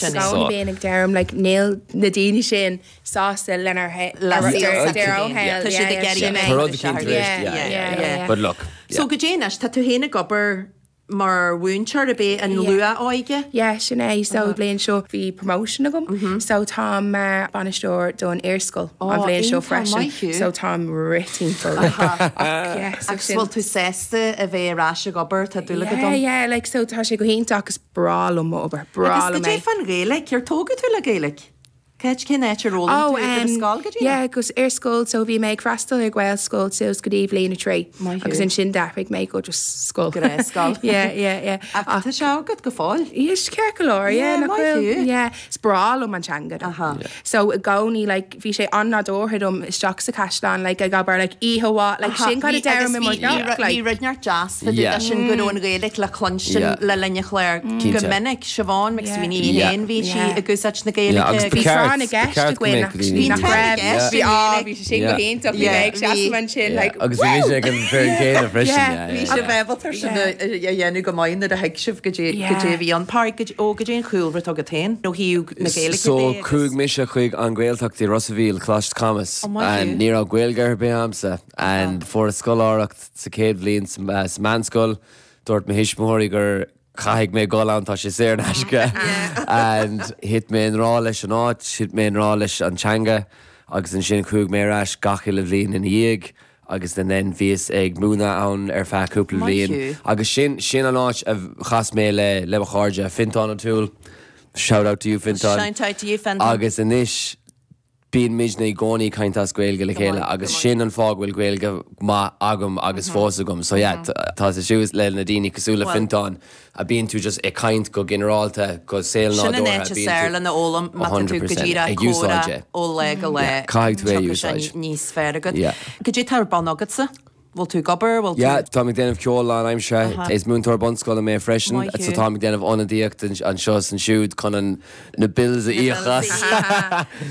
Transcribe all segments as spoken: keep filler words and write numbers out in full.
Sin é. So bíonn ag deirim like níl na daoine sin sásta lenar Le saol Yeah, Tá siad ag iarraidh yeah, a bheith Tá rud ina éicint seacht. tar éis- yeah, yeah, yeah, yeah. But look, So yeah. go dtí anois, tá tú féin ag obair mar mhúinteoir a bheith an Yeah. luath-óige? Yeah, sin é so bliain seo bhí promotion agam so tá mar bainisteoir don iarscoil Oh, an bhliain seo iontach freisin maith thú. so táim rith-timpeall yeah, so Agus sin- bhfuil tú sásta a bheith ar ais ag obair tá dúil Yeah, dom. yeah, like so tá sé go hiontach agus breá liom mo obair breá Agus liom go dé é. fan Ghaeilge, ar tógadh tú le Gaeilge? Céit cén áit ar Oh, fhoghlaim tú ar scoil go dtí? yeah, agus ar scoil so bhí mé ag freastal ar Ghaelscoil suas go dtí bliain a trí Maith thú. agus ansin d'athraigh mé go just scoil. Gnáthscoil. yeah, yeah, yeah. Ach tá sé agat go fóill. Is ceart go leor, Yeah, yeah, nach maith bhfuil? thú. Yeah, is breá liom an teanga. though. Aha. So i gcónaí like bhí sé an-nádúrtha dom isteach sa chaisleán like ag abair like oíche mhaith like sin kind of deirim i mo theach, Bhí like rud inteacht deas fá Yeah. sin go raibh an Ghaeilge le cluinstin Yeah. le linn an chláir go Cinnte. minic Siobhán McSweeney Yeah. féin bhí sí Yeah. ag úsáid na Yeah, agus Gaeilge. ba Bhí ceart- tráth na ba gceist ceart go againn mbeadh actually, daoine- nach Bhí tráth na raibh. gceist Bhí á i bhí sé sin go Yeah. hiontach bhí Yeah, mé ag bhí- seasamh ansin like Agus bhí mise ag an fer céanna freisin. Yeah. yeah, Bhí yeah, sé yeah. bhebaltar sin a dhéanamh go maith nuair a thuig sibh go dtí Yeah. go dtí bhí an par ó go dtí an chúlra agat féin ó thaobh na Gaeilge So de agus- chuaigh mise chuig an Ghaeltacht i Ros an Mhíl Coláiste Camas Oh, maith and thú. ní raibh Gaeilge ar bith agamsa and fuair scoláireacht sa chéad bhliain sa uh, sa meánscoil dúirt mo thuismitheoirí gur caithfidh mé dul ann tá sé saor in aisce and thit mé i ngrá leis an áit, thit mé i ngrá leis an teanga agus ansin chuaigh mé ar ais gach uile bhliain ina dhiaidh agus then then bhíos ag múineadh ann ar feadh cúpla Maith bliain thú. agus sin sin an áit a chas mé le le mo chairde Fintán O'Toole shout out to you Fintán Shout out to you, Fintán. agus anois bíonn muidne i gcónaí ag caint as Gaeilge le chéile maith, agus go maith. sin an fáth go bhfuil Gaeilge maith agam agus fós agam so yeah t- tá sé siús le na daoine cosúil le Well- Fintán a bíonn tú just ag caint go ginearálta go saol Sin an nádúrtha áit is fearr lena fhoghlaim má tá tú go díreach ag úsáid comhrá é. ó lá go lá. caithfidh tú é Tiocfaidh sé úsáid. níos fearr agat. Yeah. Go dtí tá ar bun agatsa? Bhfuil tú ag obair bhfuil Yeah, tú tá ag déanamh ceol lánaimseartha is múinteoir bunscoile mé freisin Maith so thú. tá ag déanamh ionadaíocht anseo is ansiúd chun an na bills a íoc as.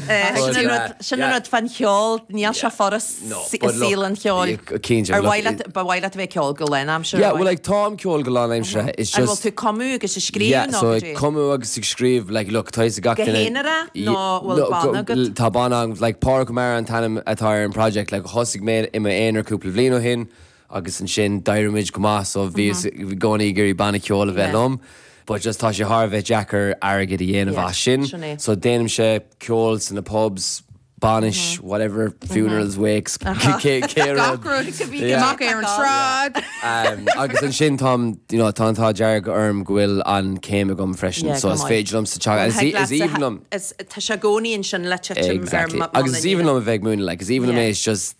Eh, But, Sin an uh, rud- sin an yeah. rud fan cheol níl sé furast No, but look, saol an cheoil. cinnte, Ar look, mhaith leat- ba mhaith leat a bheith ceol go lánaimseartha? Yeah, well like táim ceol go lánaimseartha it's An bhfuil just tú cumadh agus ag scríobh Yeah, nó so go ag dtí? cumadh agus ag scríobh like look tá gach Go duine- haonarach Ye- nó bhfuil No, banna go- agat? Tá banna agam, like Pádraig Ó Meára an t-ainm atá ar an project like thosaigh mé i m'aonar cúpla bliain ó shin agus ansin d'éirigh muid go maith so bhí i gcónaí ag iarraidh banna ceoil a bheith Yeah. liom. But just tá sé thar a bheith deacair airgead a dhéanamh Yeah, as sin. sin é. So déanaimse ceol sna pubs, bainis, whatever, funerals, wakes, cé cé rud. Gach rud a bhí Yeah. Amach ar an sráid. Um, agus ansin tá you know, tá tá dearg orm go bhfuil an céim agam freisin, Yeah, so go is maith. féidir liom sa teach is Thig is leat aoibhinn liom is- Tá sé i gcónaí ansin le titim ar exactly. ma- Agus is aoibhinn mana liom a bheith ag múineadh, like, is aoibhinn liom Yeah. é, it's just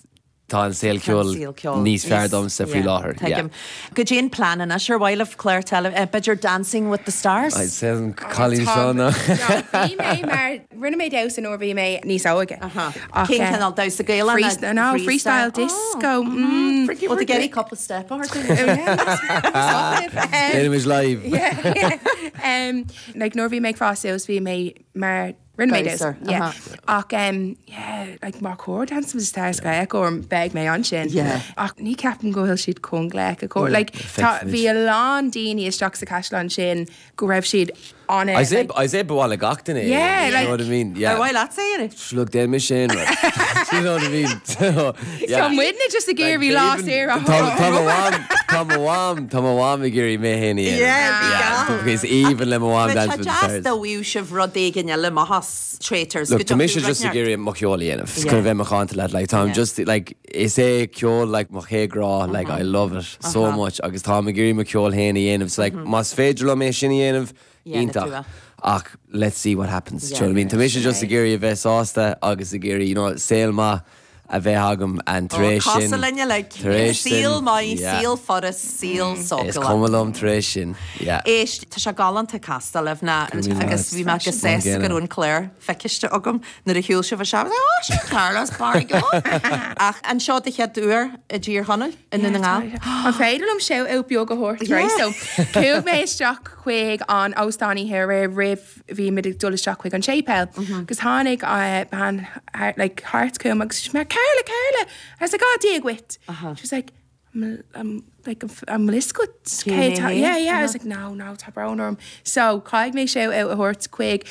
tá an saol ceoil saol ceoil níos fearr níos- domsa faoi yeah, láthair. tuigim. Go dtí an plean anois ar mhaith libh clár tele eh, b'fhéidir Dancing with the Stars. I'd say an cailín seo ná. Bhí mé mar rinne mé damhsa nuair bhí mé níos óige. Ach, Cén eh, cineál damhsa Gaelach Freestyle, no, freestyle disco. Mm. Well, the Getty couple step or Oh, yeah, that's- that's Déanaimid live. Yeah. um, like nuair bhí mé ag fás suas bhí mé mar rinne mé Damhsa, yeah. uh-huh. Ach um, yeah, like mar chóir Dancing with the Stars glaoch orm beidh mé ansin. Yeah. Ach ní ceapaim go bhfuil siad chun glaoch orm. Like tá Feicfimid. bhí a lán daoine isteach sa chaisleán sin go raibh siad an I say I say bhhaile gach duine. Yeah, you like- know what I mean? Yeah. Ar mhaith leat é? Look, déan mé sin. right. You know what I mean? So, yeah. Tá muidne just ag iarraidh lá saor Tá tá mo mham tá mo mham tá mo mham ag iarraidh mé féin Yeah, bhí Yeah, is aoibhinn le mo mham Dancing with the Tá Stars. da bhíú sibh rud éigin eile maithas traitors. Look, tá mise just ag iarraidh mo cheol a dhéanamh. Yeah. Chun bheith macánta leat like táim Yeah. just like is é ceol like mo chéad ghrá like I love it so Uh-huh. much agus táim ag iarraidh mo cheol féin a dhéanamh. So like más féidir liom é sin a dhéanamh Yeah, na iontach. tú é. Ach let's see what happens. Yeah. Do you know what I mean? Tá mise just ag iarraidh a bheith sásta agus ag iarraidh you know saol maith a bheith agam and tar éis sin. Cosa linne le tar éis sin, saol maith, yeah. saol furast, saol Is sócala. cuma liom tar éis sin. Yeah. Éist tá sé galánta castáil libh na agus bhí mé go sásta go raibh an clár feicthe agam nuair a shiúil sibh sé ó Carlos Bargo. Ach anseo den chéad uair i dTír Chonaill i nDún na nGall. An féidir liom shout out beag a thabhairt right? So chuaigh mé isteach chuig an óstán here roimh bhí mé ag dul isteach chuig an séipéal. Agus tháinig uh, bean thar- like thart chugam agus she mar Carla Carla. I was like, oh Dia duit. She was like, I'm, I'm like I'm liscut yeah yeah I was like no no tá brón orm so caithfidh mé shout out a thabhairt chuig